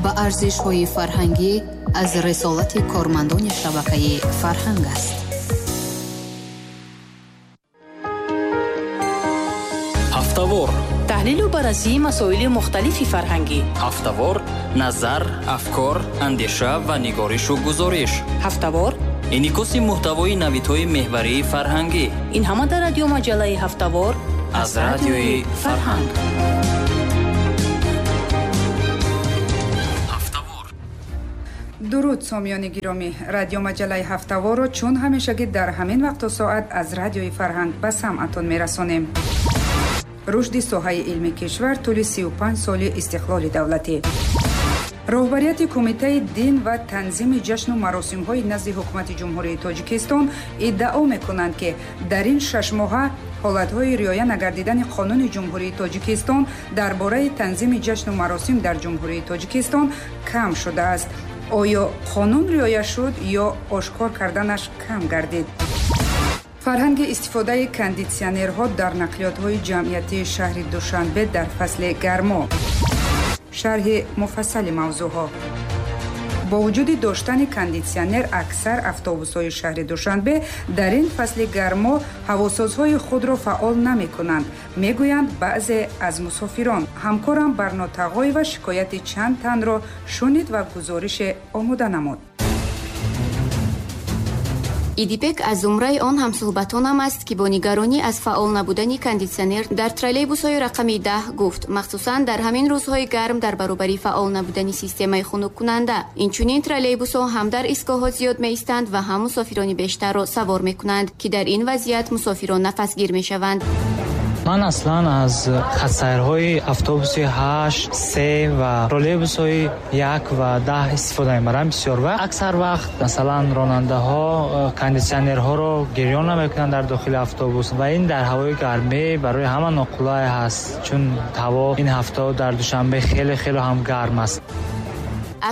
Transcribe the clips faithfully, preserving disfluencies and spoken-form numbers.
Ба арзишҳои фарҳангӣ аз рисолати кормандони шабакаи фарҳанг аст. Ҳафтавор таҳлилу баррасии масоили мухталифи фарҳангӣ. Ҳафтавор назар, афкор, андеша ва нигоришу гузориш. Ҳафтавор инъикоси муҳтавои навидҳои меҳварии фарҳангӣ. Ин ҳама дар радиомаҷаллаи Ҳафтавор аз радиои Фарҳанг. Дуруд, сомиёни гиромӣ. Радиомаҷаллаи Ҳафтаворро чун ҳамешагӣ дар ҳамин вақту соат аз радиои Фарҳанг ба самъатон мерасонем. Рушди соҳаи илми кишвар тӯли сию панҷ соли истиқлоли давлатӣ. Роҳбарияти Кумитаи дин ва танзими ҷашну маросимҳои назди Ҳукумати Ҷумҳурии Тоҷикистон иддао мекунанд, ки дар ин шашмоҳа ҳолатҳои риоя нагардидани қонуни Ҷумҳурии Тоҷикистон дар бораи танзими ҷашну маросим дар Ҷумҳурии Тоҷикистон кам шудааст. Оё қонун риоя шуд ё ошкор карданаш кам гардид? Фарҳанги истифодаи кондитсионерҳо дар нақлиётҳои ҷамъиятии шаҳри Душанбе дар фасли гармо. Шарҳи муфассали мавзӯъҳо. Бо вуҷуди доштани кондитсионер, аксар автобусҳои шаҳри Душанбе дар ин фасли гармо ҳавосозҳои худро фаъол намекунанд, мегӯянд баъзе аз мусофирон. Ҳамкорам Барно Тағоева шикояти чанд танро шунид ва гузорише омода намуд. Идибек аз зумраи он ҳамсӯҳбатонам аст, ки бо нигаронӣ аз фаъол набудани кондитсионер дар троллейбусҳои рақами даҳ гуфт, махсусан дар ҳамин рӯзҳои гарм дар баробари фаъол набудани системаи хунуккунанда. Инчунин троллейбусҳо ҳам дар истгоҳҳо зиёд меистанд ва ҳам мусофирони бештарро савор мекунанд, ки дар ин вазъият мусофирон нафасгир мешаванд. Ман аслан аз хатсайрҳои автобуси ҳашт, се ва троллейбусҳои як ва даҳ истифода мебарам бисёр вақт. Аксар вақт масалан ронандаҳо кондитсионерҳоро гирён намекунанд дар дохили автобус ва ин дар ҳавои гармӣ барои ҳама ноқулай ҳаст, чун ҳаво ин ҳафта дар Душанбе хеле хеле ҳам гарм аст.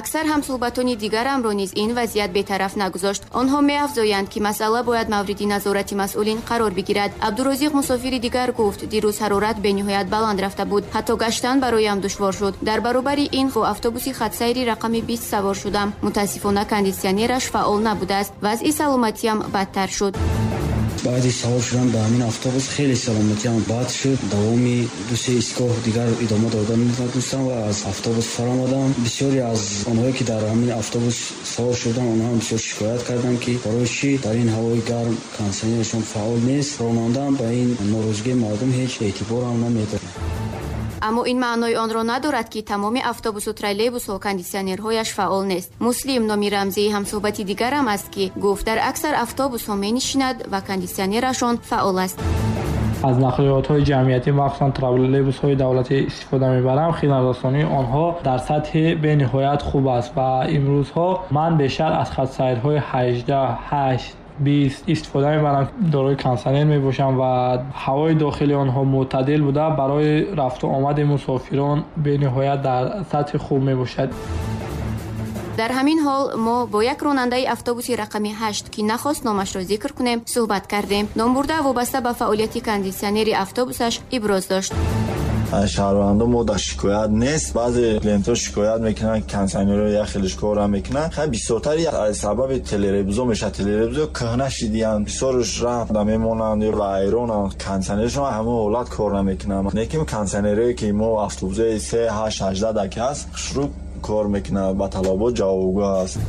Аксар ҳамсӯҳбатони дигарамро низ ин вазъият бетараф нагузошт. Онҳо меафзоянд, ки масъала бояд мавриди назорати масъулин қарор бигирад. Абдурозиқ мусофири дигар гуфт, дирӯз ҳарорат бениҳоят баланд рафта буд, ҳатто гаштан бароям душвор шуд. Дар баробари ин бо автобуси хатсайри рақами бист савор шудам. Мутаассифона кондитсионераш фаъол набудааст. Вазъи саломатиям бадтар шуд. Баъди савор шудан ба ҳамин автобус хеле саломатиам бад шуд. Давоми ду се истгоҳ дигар идома дода натавонистам ва аз автобус фаромадам. Бисёре аз онҳое ки дар ҳамин автобус савор шуданд, онҳо ҳам бисёр шикоят карданд, ки барои чӣ дар ин ҳавои гарм кондитсионерашон фаъол нест. Ронандаам ба ин норозигии мардум ҳеҷ эътиборам намедод. Аммо ин маънои онро надорад, ки тамоми автобусу троллейбусҳо кондитсионерҳояш фаъол нест. Муслим номи рамзии ҳамсӯҳбати дигарам аст, ки гуфт дар аксар автобусҳо менишинад ва кондитсионерашон фаъол аст. Аз нақлиётҳои ҷамъиятӣ, махсусан троллейбусҳои давлатӣ истифода мебарам. Хизматрасонии онҳо дар сатҳи бениҳоят хуб аст ва имрӯзҳо ман бештар аз хатсайрҳои ҳаждаҳ, ҳашт, бист истифода мебарам. Дорои кондитсионер мебошам ва ҳавои дохили онҳо мӯътадил буда, барои рафту омади мусофирон бениҳоят дар сатҳи хуб мебошад. Дар ҳамин ҳол мо бо як ронандаи автобуси рақами ҳашт, ки нахост номашро зикр кунем, суҳбат кардем. Номбурда вобаста ба фаъолияти кондитсионери автобусаш иброз дошт. Шаҳрвандо мо дар шикоят нест. Баъзе клиентҳо шикоят мекунанд, кондитсионерҳо як хелеш кора мекунанд. Хай бисёртари аз сабаби телеребузо мешавад. Телеребузо кӯҳна шидиянд, бисёрш рафта мемонанд ё вайронанд. Кондитсионершон ҳамон ҳолат кор намекунанд. Лекин кондитсионерҳое ки мо автобусҳои се, ҳашт, ҳаждаҳ даки ҳаст, хушрӯ кор мекунад, ба талабот ҷавобгӯ аст.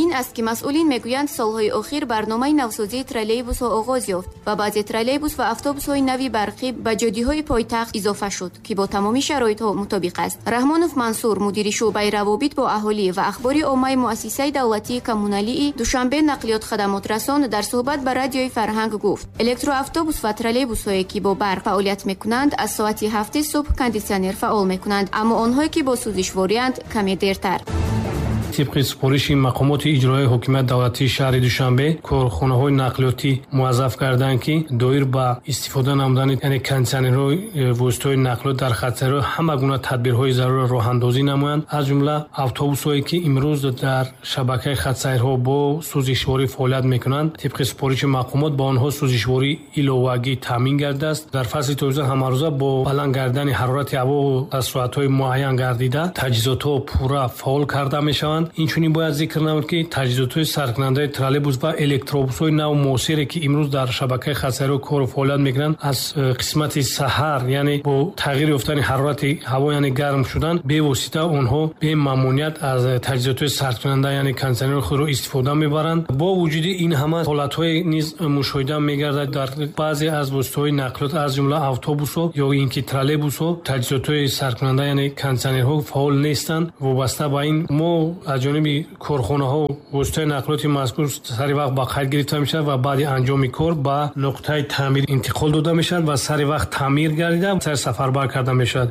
Ин аст, ки масъулин мегӯянд, солҳои охир барномаи навсозии троллейбусҳо оғоз ёфт ва баъзе троллейбус ва автобусҳои нави барқӣ ба ҷодиҳои пойтахт изофа шуд, ки бо тамоми шароитҳо мутобиқ аст. Раҳмонов Мансур, мудири шӯъбаи равобит бо аҳолӣ ва ахбори оммаи муассисаи давлатии коммуналии Душанбе нақлиёт хадамотрасон, дар суҳбат ба радиои Фарҳанг гуфт, электроавтобус ва троллейбусҳое ки бо барқ фаъолият мекунанд, аз соати ҳафти субҳ кондитсионер фаъол мекунанд, аммо онҳое ки бо сӯзишвориянд каме дертар. Тибқи супориши мақомоти иҷроияи ҳокимияти давлатии шаҳри Душанбе, корхонаҳои нақлиётӣ муваззаф карданд, ки доир ба истифода намудани, яъне кондитсионерҳои воситаҳои нақлиёт дар хатсайрҳо ҳама гуна тадбирҳои зарурро роҳандозӣ намоянд. Аз ҷумла автобусҳое, ки имрӯз дар шабакаи хатсайрҳо бо сӯзишворӣ фаъолият мекунанд, тибқи супориши мақомот ба онҳо сӯзишворӣ иловагӣ таъмин гардидааст. Дар фасли тобистон ҳамарӯза бо баланд гардидани ҳарорати ҳаво аз соатҳои муайян гардида таҷҳизотҳо пурра фаъол карда мешаванд. Инчунин бояд зикр намуд, ки таҷҳизотҳои саркунандаи троллейбус ва электробусҳои нав муосире, ки имрӯз дар шабакаи хатсайрҳо кору фаъолият мекунанд, аз қисмати саҳар, яъне бо тағйир ёфтани ҳарорати ҳаво, яъне гарм шудан, бевосита онҳо бемамоният аз таҷҳизотҳои сардкунанда, яъне кондитсионерҳои худро истифода мебаранд. Бо вуҷуди ин ҳама ҳолатҳое низ мушоҳида мегардад дар баъзе аз воситаҳои нақлиёт, аз ҷумла автобусҳо ё ин ки троллейбусҳо таҷҳизотҳои сардкунанда, яъне кондитсионерҳо фаъол нестанд. Вобаста ба ин мо аз ҷониби корхонаҳо воситаи нақлиёти мазкур сари вақт ба қайд гирифта мешавад ва баъди анҷоми кор ба нуқтаи таъмир интиқол дода мешавад ва сари вақт таъмир гардида сари сафарбар карда мешавад.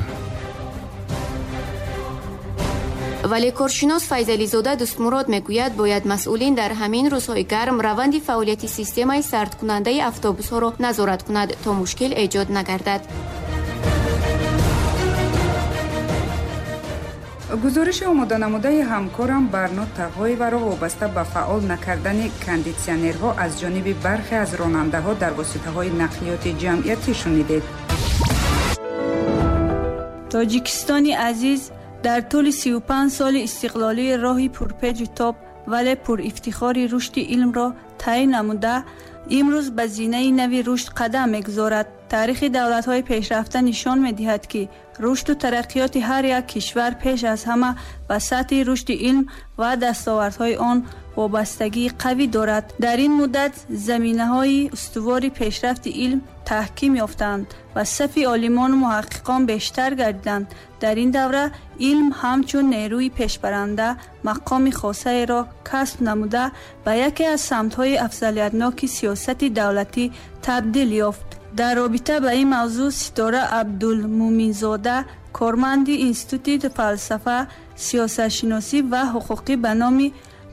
Вале коршинос Файзализода Дӯстмурод мегӯяд, бояд масъулин дар ҳамин рӯзҳои гарм раванди фаъолияти системаи сардкунандаи автобусҳоро назорат кунад, то мушкил эҷод нагардад. Гузориши омоданамудаи ҳамкорам Барно Тағоеваро вобаста ба фаъол накардани кондитсионерҳо аз ҷониби бархе аз ронандаҳо дар воситаҳои нақлиёти ҷамъиятӣ шунидед. Тоҷикистони азиз дар тӯли сию панҷ соли истиқлолӣ роҳи пурпеҷу тоб, вале пурифтихори рушди илмро тай намуда, имрӯз ба зинаи нави рушд қадам мегузорад. Таърихи давлатҳои пешрафта нишон медиҳад, ки рушду тараққиёти ҳар як кишвар пеш аз ҳама ба сатҳи рушди илм ва дастовардҳои он вобастагии қавӣ дорад. Дар ин муддат заминаҳои устувори пешрафти илм таҳким ёфтанд ва сафи олимону муҳаққиқон бештар гардиданд. Дар ин давра илм ҳамчун нерӯи пешбаранда мақоми хосаеро касб намуда, ба яке аз самтҳои афзалиятноки сиёсати давлатӣ табдил ёфт. Дар робита ба ин мавзӯъ Ситора Абдулмуминзода, корманди Институти фалсафа, сиёсатшиносӣ ва ҳуқуқӣ ба номи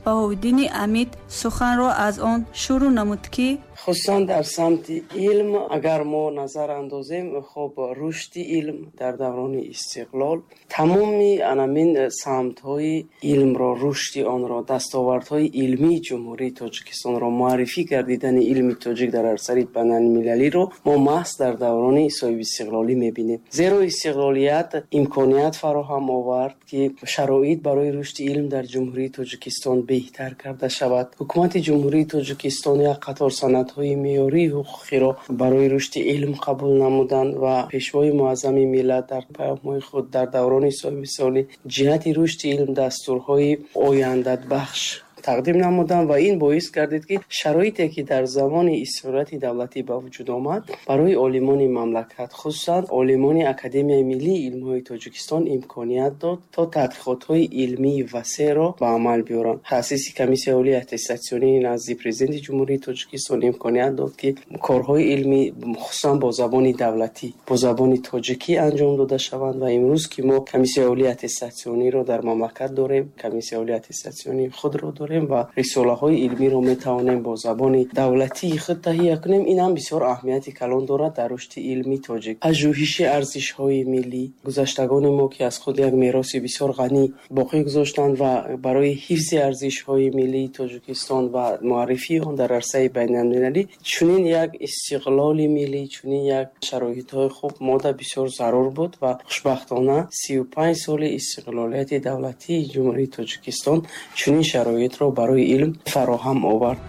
Баҳовиддини Амид суханро аз он шурӯъ намуд, ки хусусан дар самти илм агар мо назар андозем, хоб рушди илм дар даврони истиқлол тамоми анамин самтҳои илмро, рушди онро, дастовардҳои илмии Ҷумҳурии Тоҷикистонро, муаррифӣ гардидани илми тоҷик дар арсаи байналмилалиро мо маҳз дар даврони соҳибистиқлолӣ мебинем. Зеро истиқлолият имконият фароҳам овард, ки шароит барои рушди илм дар Ҷумҳурии Тоҷикистон беҳтар карда шавад. Ҳукумати Ҷумҳурии Тоҷикистон як қатор санадҳои меъёрии ҳуқуқиро барои рушди илм қабул намуданд ва Пешвои муаззами миллат дар паёмҳои худ дар даврони соҳибистиқлолӣ ҷиҳати рушди илм дастурҳои ояндабахш тақдим намуданд ва ин боис гардид, ки шароите, ки дар замони истиқлолияти давлатӣ ба вуҷуд омад, барои олимони мамлакат, хусусан олимони Академияи миллии илмҳои Тоҷикистон имконият дод, то тадқиқотҳои илмии васеъро ба амал биёранд. Таъсиси Комиссияи олии аттестатсионии назди Президенти Ҷумҳурии Тоҷикистон имконият дод, ки корҳои илмӣ хусусан бо забони давлатӣ, бо забони тоҷикӣ анҷом дода шаванд ва имрӯз ки мо Комиссияи олии аттестатсиониро дар мамлакат дорем, Комиссияи олии аттестатсионии худро дорем ва рисолаҳои илмиро метавонем бо забони давлатии худ таҳия кунем. Ин ҳам бисёр аҳамияти калон дорад дар рушди илми тоҷик. Пажӯҳиши арзишҳои миллӣ, гузаштагони мо, ки аз худ як мероси бисёр ғанӣ боқӣ гузоштанд ва барои ҳифзи арзишҳои миллии Тоҷикистон ва муаррифии он дар арсаи байналмилалӣ чунин як истиқлоли миллӣ, чунин як шароитҳои хуб мода бисёр зарур буд ва хушбахтона сию панҷ соли истиқлолияти давлатии Ҷумҳурии Тоҷикистон чунин шароитро барои илм фароҳам овард.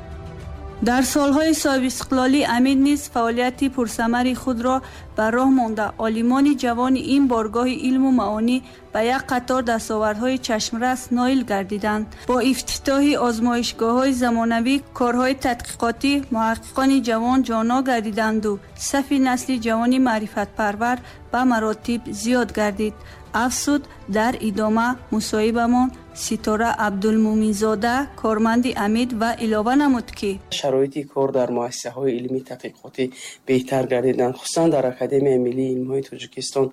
Дар солҳои соҳибистиқлолӣ Амид низ фаъолияти пурсамари худро ба роҳ монда, олимони ҷавони ин боргоҳи илму маонӣ ба як қатор дастовардҳои чашмрас ноил гардиданд. Бо ифтитоҳи озмоишгоҳҳои замонавӣ, корҳои тадқиқотӣ муҳаққиқони ҷавон ҷоно гардиданду сафи насли ҷавони маърифатпарвар ба маротиб зиёд гардид. Афзуд дар идома мусоҳибамон Ситора Абдулмуминзода, корманди Амид, ва илова намуд, ки шароити кор дар муассисаҳои илмии тадқиқотӣ беҳтар гардиданд, хусусан дар Академияи миллии илмҳои Тоҷикистон,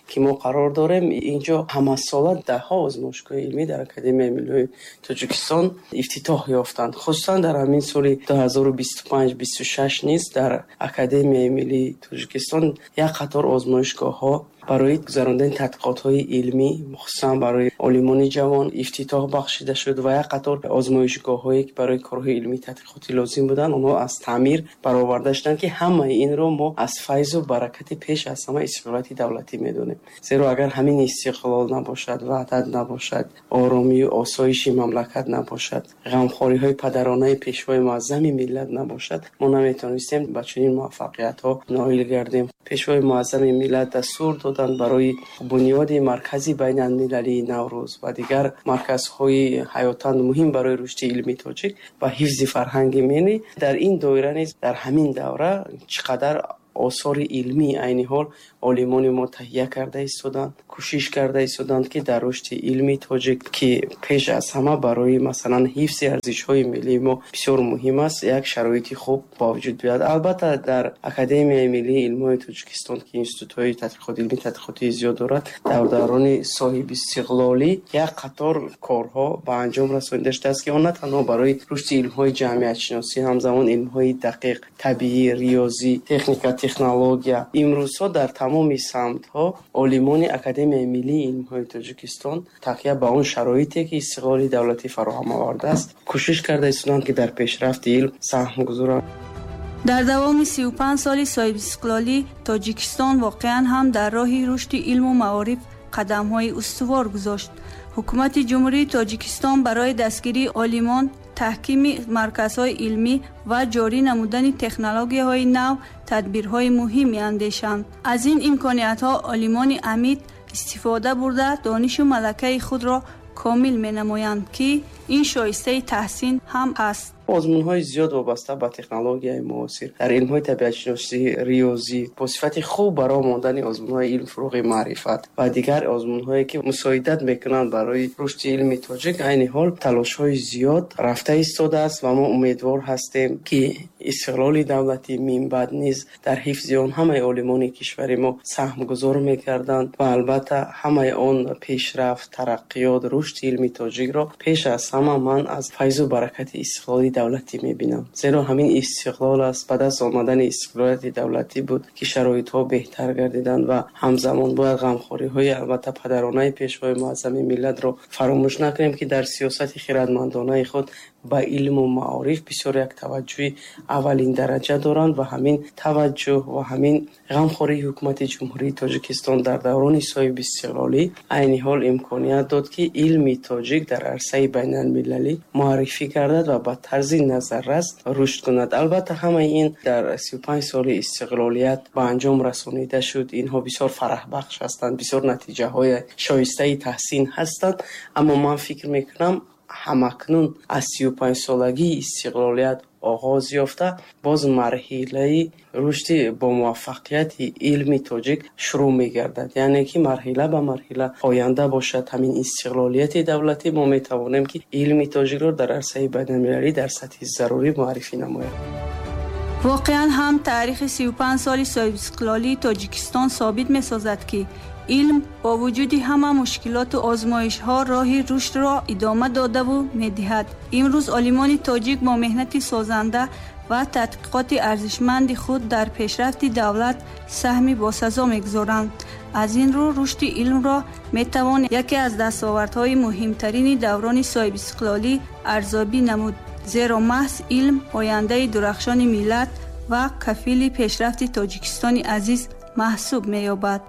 ки мо қарор дорем. Инҷо ҳамасола даҳҳо озмоишгоҳи илмӣ дар Академияи миллии Тоҷикистон ифтитоҳ ёфтанд. Хусусан дар ҳамин соли ду ҳазору бисту панҷ бисту шаш низ дар Академияи миллии Тоҷикистон як қатор озмоишгоҳҳо барои гузарондани тадқиқотҳои илмӣ, хусусан барои олимони ҷавон, ифтитоҳ бахшида шуд ва як қатор озмоишгоҳҳое, ки барои корҳои илмии тадқиқотӣ лозим буданд, онҳо аз таъмир бароварда шуданд, ки ҳамаи инро мо аз файзу баракати пеш аз ҳама истиқлолияти давлатӣ медонем. Зеро агар ҳамин истиқлол набошад, ваҳдат набошад, оромию осоиши мамлакат набошад, ғамхориҳои падаронаи пешвои муаззами миллат набошад, мо наметавонистем ба чунин муваффақиятҳо ноил гардем. Пешвои муаззами миллат дастур доданд барои бунёди маркази байналмилалии Наврӯз ва дигар марказҳои ҳаётан муҳим барои рушди илми тоҷик ва ҳифзи фарҳанги миллӣ. Дар ин доира низ дар ҳамин давра чӣ қадар осори илмӣ айни ҳол олимони мо таҳия карда истоданд, кӯшиш карда истоданд, ки дар рушди илми тоҷик, ки пеш аз ҳама барои масалан ҳифзи арзишҳои миллии мо бисёр муҳим аст, як шароити хуб ба вуҷуд биёяд. Албатта дар Академияи миллии илмҳои Тоҷикистон, ки институтҳои тадқиқоти илмии тадқиқотии зиёд дорад, дар даврони соҳибистиқлолӣ як қатор корҳо ба анҷом расонида шудааст, ки он на танҳо барои рушди илмҳои ҷамъиятшиносӣ, ҳамзамон илмҳои дақиқ, табиӣ, риёзӣ, техника, технология. Имрӯзҳо дар тамоми самтҳо олимони Академияи миллии илмҳои Тоҷикистон такя ба он шароите, ки истиқлоли давлатӣ фароҳам овардааст, кӯшиш карда истоданд, ки дар пешрафти илм саҳм гузоранд. Дар давоми сию панҷ соли соҳибистиқлолӣ Тоҷикистон воқеан ҳам дар роҳи рушди илму маориф қадамҳои устувор гузошт. Ҳукумати Ҷумҳурии Тоҷикистон барои дастгирии олимон, таҳкими марказҳои илмӣ ва ҷорӣ намудани технологияҳои нав тадбирҳои муҳим меандешанд. Аз ин имкониятҳо олимони Амид истифода бурда, донишу малакаи худро комил менамоянд, ки ин шоистаи таҳсин ҳам аст. Озмунҳои зиёд вобаста ба технологияи муосир дар илмҳои табиатшиносӣ, риёзӣ, бо сифати хуб барои мондани озмунҳои илм, фурӯғи маърифат ва дигар озмунҳое, ки мусоидат мекунанд барои рушди илми тоҷик, айни ҳол талошҳои зиёд рафта истодааст ва мо умедвор ҳастем, ки истиқлоли давлатӣ минбаъд низ дар ҳифзи он ҳамаи олимони кишвари мо саҳмгузор мекарданд ва албатта ҳамаи он пешрафт, тараққиёт, рушди илми тоҷикро пеш аз ҳама ман аз файзу баракати истиқлоли давлатӣ мебинам. Зеро ҳамин истиқлол аст, ба даст омадани истиқлолияти давлатӣ буд, ки шароитҳо беҳтар гардиданд ва ҳамзамон бояд ғамхориҳои албатта падаронаи пешвои муаззами миллатро фаромӯш накунем, ки дар сиёсати хирадмандонаи худ ба илму маориф бисёр як таваҷҷӯҳи аввалин дараҷа доранд ва ҳамин таваҷҷӯҳ ва ҳамин ғамхории ҳукумати Ҷумҳурии Тоҷикистон дар даврони соҳибистиқлолӣ айни ҳол имконият дод, ки илми тоҷик дар арсаи байналмилалӣ муаррифӣ гардад ва ба тарзи назаррас рушд кунад. Албатта ҳамаи ин дар сию панҷ соли истиқлолият ба анҷом расонида шуд. Инҳо бисёр фараҳбахш ҳастанд, бисёр натиҷаҳои шоистаи таҳсин ҳастанд, аммо ман фикр мекунам ҳамакнун аз сию панҷ солагии истиқлолият оғоз ёфта, боз марҳилаи рушди бомуваффақияти илми тоҷик шурӯъ мегардад. Яъне ки марҳила ба марҳила оянда бошад ҳамин истиқлолияти давлатӣ, мо метавонем, ки илми тоҷикро дар арсаи байналмилалӣ дар сатҳи зарурӣ муаррифӣ намоем. Воқеан ҳам таърихи сию панҷ соли соҳибистиқлолии Тоҷикистон собит месозад, ки илм бо вуҷуди ҳама мушкилоту озмоишҳо роҳи рушдро идома додаву медиҳад. Имрӯз олимони тоҷик бо меҳнати созанда ва тадқиқоти арзишманди худ дар пешрафти давлат саҳми босазо мегузоранд. Аз ин рӯ рушди илмро метавон яке аз дастовардҳои муҳимтарини даврони соҳибистиқлолӣ арзёбӣ намуд, зеро маҳз илм ояндаи дурахшони миллат ва кафили пешрафти Тоҷикистони азиз маҳсуб меёбад.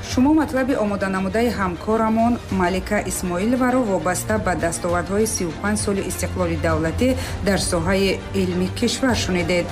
Шумо матлаби омоданамудаи ҳамкорамон Малика Исмоиловаро вобаста ба дастовардҳои сию панҷ соли истиқлоли давлатӣ дар соҳаи илми кишвар шунидед.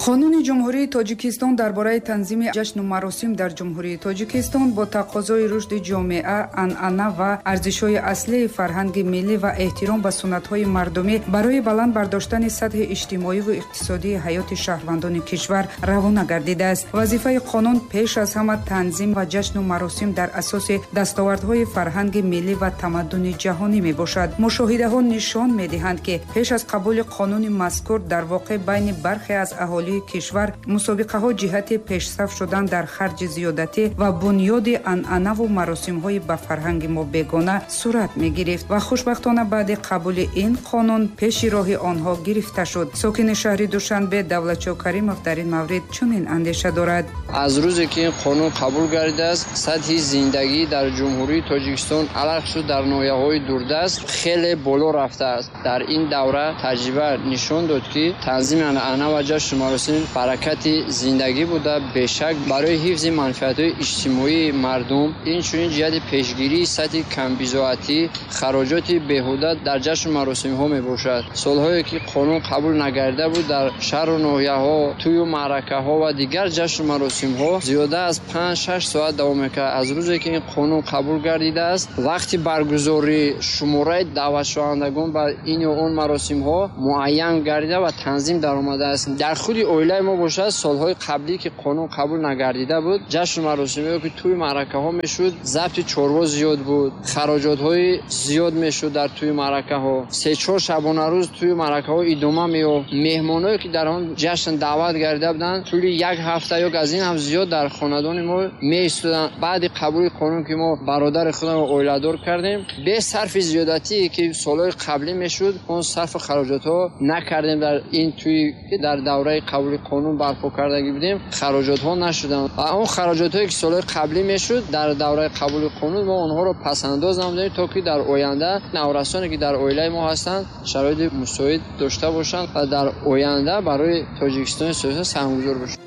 Қонуни Ҷумҳурии Тоҷикистон дар бораи танзими ҷашну маросим дар Ҷумҳурии Тоҷикистон бо тақозои рушди ҷомеа, анъана ва арзишҳои аслии фарҳанги миллӣ ва эҳтиром ба суннатҳои мардумӣ барои баланд бардоштани сатҳи иҷтимоиву иқтисодии ҳаёти шаҳрвандони кишвар равона гардидааст. Вазифаи қонун пеш аз ҳама танзим ва ҷашну маросим дар асоси дастовардҳои фарҳанги миллӣ ва тамаддуни ҷаҳонӣ мебошад. Мушоҳидаҳо нишон медиҳанд, ки пеш аз қабули қонуни мазкур дар воқеъ байни бархе аз аҳолии кишвар мусобиқаҳо ҷиҳати пешсаф шудан дар харҷи зиёдатӣ ва бунёди анъанаву маросимҳои ба фарҳанги мо бегона сурат мегирифт ва хушбахтона баъди қабули ин қонун пеши роҳи онҳо гирифта шуд. Сокини шаҳри Душанбе Давлатшо Каримов дар ин маврид чунин андеша дорад. Аз рӯзе ки ин қонун қабул гардидааст, сатҳи зиндагӣ дар Ҷумҳурии Тоҷикистон алахшуд дар ноҳияҳои дурдаст хеле боло рафтааст. Дар ин давра таҷриба нишон дод, ки танзими анъана ва ҷашну маросим баракати зиндагӣ буда, бешак барои ҳифзи манфиатҳои иҷтимоии мардум, инчунин ҷиҳати пешгирии сатҳи камбизоатӣ, хароҷоти беҳуда дар ҷашну маросимҳо мебошад. Солҳое ки қонун қабул нагардида буд, дар шаҳру ноҳияҳо тӯю маъракаҳо ва дигар ҷашну маросимҳо зиёда аз панҷ-шаш соат давом мекард. Аз рӯзе ки ин қонун қабул гардидааст, вақти баргузорӣ шумораи даъватшавандагон ба ин ё он маросимҳо муайян гардида ва танзим даромадааст. Дар худи оилаи мо бошад, солҳои қаблӣ ки қонун қабул нагардида буд, ҷашну маросимҳое ки тӯи маъракаҳо мешуд, забти чорво зиёд буд, хароҷотҳои зиёд мешуд дар тӯи маъракаҳо. Се-чор шабонарӯз тӯи маъракаҳо идома меёфт. Меҳмонҳое ки дар он ҷашн даъват гардида буданд, тӯли як ҳафта ё аз ин ҳам зиёд дар хонадони мо меистоданд. Баъди қабули қонун ки мо бародари худамро оиладор кардем, бе сарфи зиёдатие ки солҳои қаблӣ мешуд, он сарфу хароҷотҳо накардем. Дар ин тӯи ки дар давраи қабули қонун барпо кардагӣ будем, хароҷотҳо нашуданд ва он хароҷотҳое ки солҳои қаблӣ мешуд, дар давраи қабули қонун мо онҳоро пасандоз намудем, то ки дар оянда наврасоне ки дар оилаи мо ҳастанд шароити мусоид дошта бошанд ва дар оянда барои Тоҷикистони сиёсат саҳмгузор бошанд.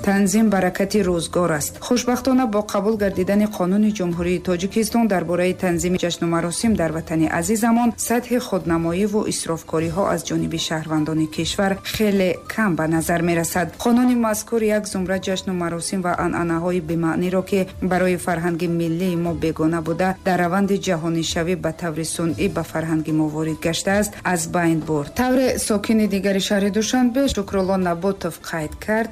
Танзим баракати рӯзгор аст. Хушбахтона бо қабул гардидани қонуни Ҷумҳурии Тоҷикистон дар бораи танзими ҷашну маросим дар ватани азизамон сатҳи худнамоиву исрофкориҳо аз ҷониби шаҳрвандони кишвар хеле кам ба назар мерасад. Қонуни мазкур як зумра ҷашну маросим ва анъанаҳои бемаъниро, ки барои фарҳанги миллии мо бегона буда, дар раванди ҷаҳонишавӣ ба таври сунъӣ ба фарҳанги мо ворид гаштааст, аз байн бурд. Тавре сокини дигари шаҳри Душанбе Шукрулло Наботов қайд кард: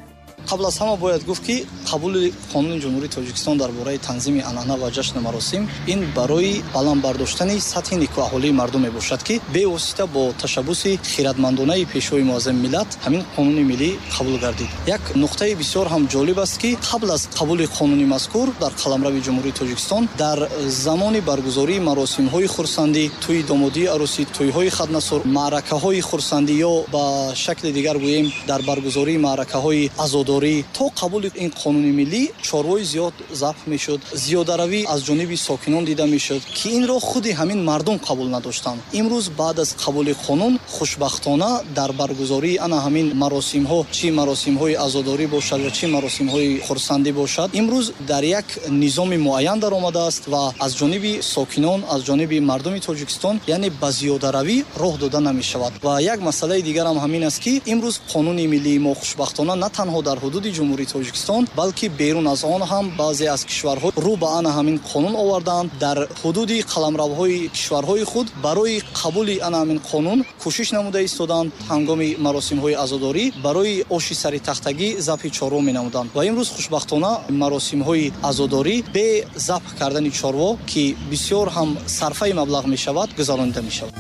Қабл аз ҳама бояд гуфт, ки қабули қонуни Ҷумҳурии Тоҷикистон дар бораи танзими анъана ва ҷашну маросим ин барои баланд бардоштани сатҳи некӯаҳолии мардум мебошад, ки бевосита бо ташаббуси хиратмандонаи Пешвои муаззами миллат ҳамин қонуни миллӣ қабул гардид. Як нуқтаи бисёр ҳам ҷолиб аст, ки қабл аз қабули қонуни мазкур дар қаламрави Ҷумҳурии Тоҷикистон дар замони баргузории маросимҳои хурсандӣ, тӯи домодии арӯсӣ, тӯйҳои хатнасур, маъракаҳои хурсандӣ ё ба шакли дигар гӯем дар баргузории маъракаҳои азодорӣ, то қабули ин қонуни миллӣ чорвои зиёд забҳ мешуд, зиёдаравӣ аз ҷониби сокинон дида мешуд, ки инро худи ҳамин мардум қабул надоштанд. Имрӯз баъд аз қабули қонун хушбахтона дар баргузории ана ҳамин маросимҳо, чӣ маросимҳои азодорӣ бошад ва чӣ маросимҳои хурсандӣ бошад, имрӯз дар як низоми муайян даромадааст ва аз ҷониби сокинон, аз ҷониби мардуми Тоҷикистон, яъне ба зиёдаравӣ роҳ дода намешавад. Ва як масъалаи дигар ҳам ҳамин аст, ки имрӯз қонуни миллии мо хушбахтона на танҳо дар ҳудуди Ҷумҳурии Тоҷикистон, балки берун аз он ҳам баъзе аз кишварҳо рӯ ба ана ҳамин қонун овардаанд. Дар ҳудуди қаламравҳои кишварҳои худ барои қабули ана ҳамин қонун кӯшиш намуда истоданд. Ҳангоми маросимҳои азодорӣ барои оши сари тахтагӣ забҳи чорво менамуданд ва имрӯз хушбахтона маросимҳои азодорӣ бе забҳ кардани чорво, ки бисёр ҳам сарфаи маблағ мешавад, гузаронида мешавад.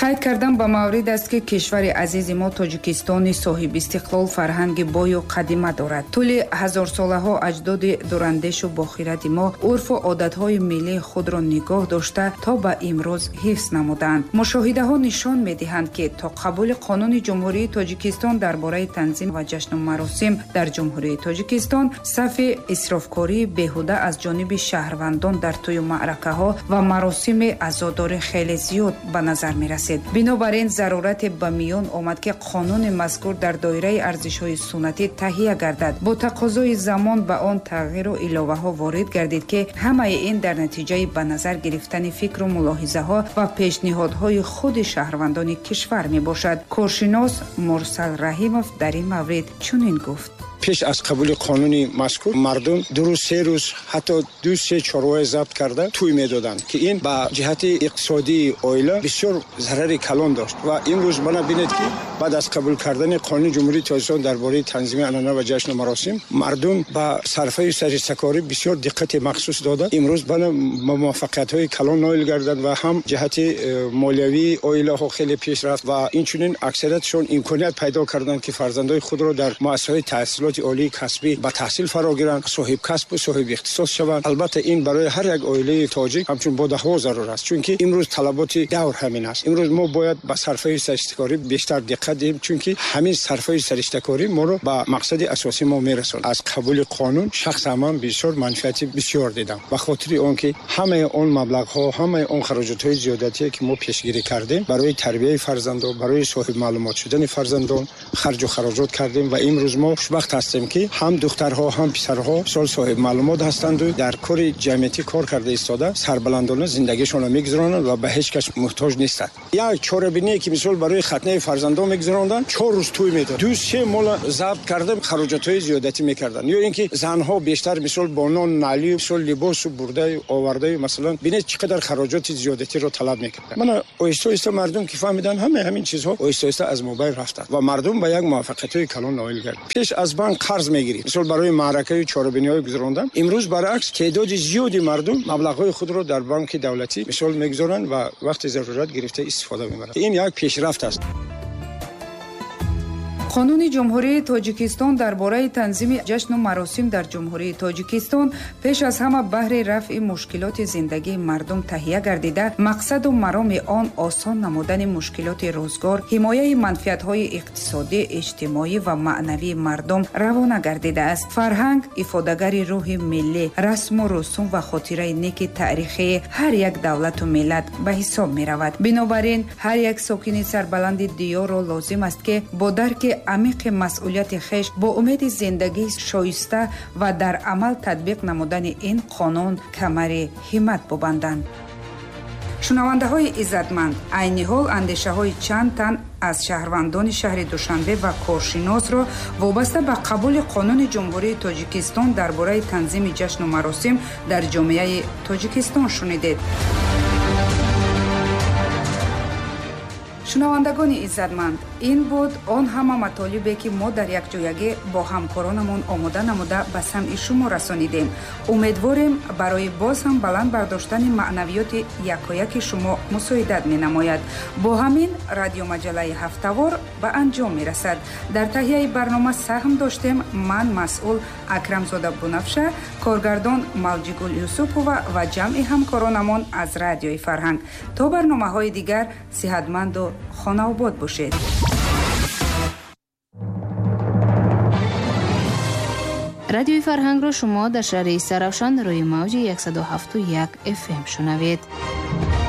Қайд кардан ба маврид аст, ки кишвари азизи мо Тоҷикистони соҳибистиқлол фарҳанги бою қадима дорад. Тӯли ҳазорсолаҳо аҷдоди дурандешу бохиради мо урфу одатҳои миллии худро нигоҳ дошта то ба имрӯз ҳифз намуданд. Мушоҳидаҳо нишон медиҳанд, ки то қабули қонуни Ҷумҳурии Тоҷикистон дар бораи танзим ва ҷашну маросим дар Ҷумҳурии Тоҷикистон сафи исрофкории беҳуда аз ҷониби шаҳрвандон дар тӯю маъракаҳо ва маросими азодорӣ хеле зиёд ба назар мерасид. расид. Бинобар ин зарурате ба миён омад, ки қонуни мазкур дар доираи арзишҳои суннатӣ таҳия гардад. Бо тақозои замон ба он тағйиру иловаҳо ворид гардид, ки ҳамаи ин дар натиҷаи ба назар гирифтани фикру мулоҳизаҳо ва пешниҳодҳои худи шаҳрвандони кишвар мебошад. Коршинос Мурсал Раҳимов дар ин маврид чунин гуфт: Пеш аз қабули қонуни мазкур мардум ду рӯз, се рӯз, ҳатто ду се чорвоя забт карда тӯй медоданд, ки ин ба ҷиҳати иқтисодии оила бисёр зарари калон дошт. Ва имрӯз мана бинед, ки баъд аз қабул кардани қонуни Ҷумҳурии Тоҷикистон дар бораи танзими анъана ва ҷашну маросим мардум ба сарфаю саристакорӣ бисёр диққати махсус дода, имрӯз бана ба муваффақиятҳои калон ноил гарданд ва ҳам ҷиҳати э, молиявии оилаҳо хеле пеш рафт ва инчунин аксариятшон имконият пайдо карданд, ки фарзандои худро дар муассисаҳои таҳсилоти олии касбӣ ба таҳсил фаро гиранд, соҳиб касбу соҳиби ихтисос шаванд. Албатта, ин барои ҳар як оилаи тоҷик ҳамчун бодаҳво зарур аст, чунки имрӯз талаботи давр ҳамин аст. Имрӯз мо бояд ба сарфаи саристакорӣ бештар диққат диҳем, чунки ҳамин сарфаи саристакорӣ моро ба мақсади асосии мо мерасонад. Аз қабули қонун шахсан ман бисёр манфиати бисёр дидам, ба хотири он ки ҳамаи он маблағҳо, ҳамаи он хароҷотҳои зиёдатие, ки мо пешгирӣ кардем, барои тарбияи фарзандон, барои соҳиб маълумот шудани фарзандон харҷу хароҷот кардем. Ва имрӯз мо хушбахт ҳастем, ки ҳам духтарҳо, ҳам писарҳо сол соҳиб маълумот ҳастанду дар кори ҷамъиятӣ кор карда истода сарбаландона зиндагишонро мегузаронанд ва ба ҳеҷ кас муҳтоҷ нестанд. Як чорабиние, ки мисол барои хатнаи фарзандон мегузаронданд, чор рӯз тӯй медод, ду се мола забт карда хароҷотҳои зиёдатӣ мекарданд. Ё ин ки занҳо бештар мисол бо нон налию мисол либосу бурдаю овардаю, масалан, бинед, чӣ қадар хароҷоти зиёдатиро талаб мекарданд. Мана оҳиста оҳиста мардум ки фаҳмиданд, ҳамаи ҳамин чизҳо оҳиста оҳиста аз мобайн рафтанд ва мардум ба як муваффақиятҳои калон ноил гардид. Пеш аз банк қарз мегирифт, мисол барои маъракаю чорабиниҳои гузарондан. Имрӯз баръакс, теъдоди зиёди мардум маблағҳои худро дар банки давлатӣ мисол мегузоранд ва вақти зарурат гирифта истифода мебаранд. Ин як пешрафт аст. Қонуни Ҷумҳурии Тоҷикистон дар бораи танзими ҷашну маросим дар Ҷумҳурии Тоҷикистон пеш аз ҳама баҳри рафъи мушкилоти зиндагии мардум таҳия гардида, мақсаду мароми он осон намудани мушкилоти рӯзгор, ҳимояи манфиатҳои иқтисодӣ, иҷтимоӣ ва маънавии мардум равона гардидааст. Фарҳанг ифодагари рӯҳи миллӣ, расму русум ва хотираи неки таърихии ҳар як давлату миллат ба ҳисоб меравад. Бинобар ин ҳар як сокини сарбаланди диёрро лозим аст, ки бо дарки амиқи масъулияти хеш, бо умеди зиндагии шоиста ва дар амал татбиқ намудани ин қонун камари ҳиммат бубанданд. Шунавандаҳои иззатманд, айни ҳол андешаҳои чанд тан аз шаҳрвандони шаҳри Душанбе ва коршиносро вобаста ба қабули қонуни Ҷумҳурии Тоҷикистон дар бораи танзими ҷашну маросим дар ҷомеаи Тоҷикистон шунидед. Шунавандагони иззатманд, ин буд он ҳама матолибе, ки мо дар якҷоягӣ бо ҳамкоронамон омода намуда ба самъи шумо расонидем. Умедворем, барои боз ҳам баланд бардоштани маънавиёти якояки шумо мусоидат менамояд. Бо ҳамин радиомаҷаллаи ҳафтавор ба анҷом мерасад. Дар таҳияи барнома саҳм доштем ман, масъул Акрамзода Бунафша, коргардон Малҷигул Юсупова ва ҷамъи ҳамкоронамон аз Радиои Фарҳанг. То барномаҳои дигар сиҳатманду хонаобод бошед. Радиои Фарҳангро шумо дар шаҳри Истаравшан рӯи мавҷи яксаду ҳафту як F M шунавед.